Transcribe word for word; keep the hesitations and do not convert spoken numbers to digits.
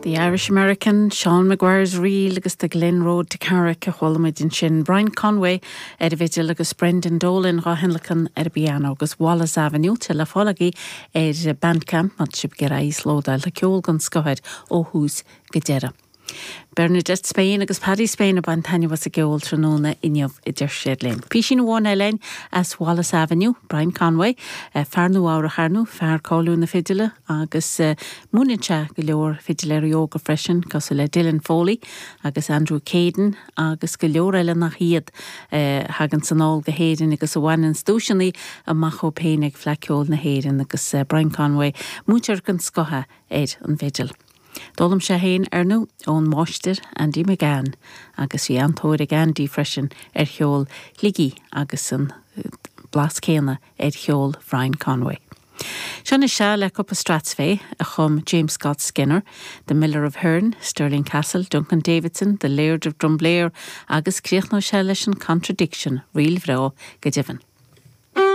The Irish American, Sean Maguire's Reel agus the Glen Road to Carrick a chuala muid ansin Brian Conway ar an bhfidil agus Brendan Dolan á thionlacan ar an bpianó agus Wallace Avenue te le fáil ar Bandcamp mat sib gur íoslódáil le ceol den scoth ó thús go deireadh. Bernadette Spain agus Paddy Spain a bhain taitneamh as an gceol tráthnóna inniu a deir siad linn. Písín amháin eile as Wallace Avenue, Brian Conway, eh, fear Nua-Eabhrac ar ndóigh, fear cáiliúil na fidile agus uh, múineann sé go leor fidiléirí óga freisin cosúil le Dylan Foley agus Andrew Caden agus go leor eile nach iad uh, thagann anall go hÉirinn agus a bhaineann duaiseanna amach ó féin ag Fleadh Cheoil na hÉireann agus uh, Brian Conway múinteoir den scoth ar an bhfidil. D'fhoghlaim sé féin ar ndóigh ón máistir Andy McGann agus bhí an-tóir ag Andy freisin ar cheol Shligigh agus an blas céanna ar cheol Brian Conway. Seo é le cúpla strathspey a chum James Scott Skinner, The Miller of Hearn, Stirling Castle, Duncan Davidson, The Laird of Drumblair agus críochnóidh sé leis an Contradiction ríl bhreá go deimhin.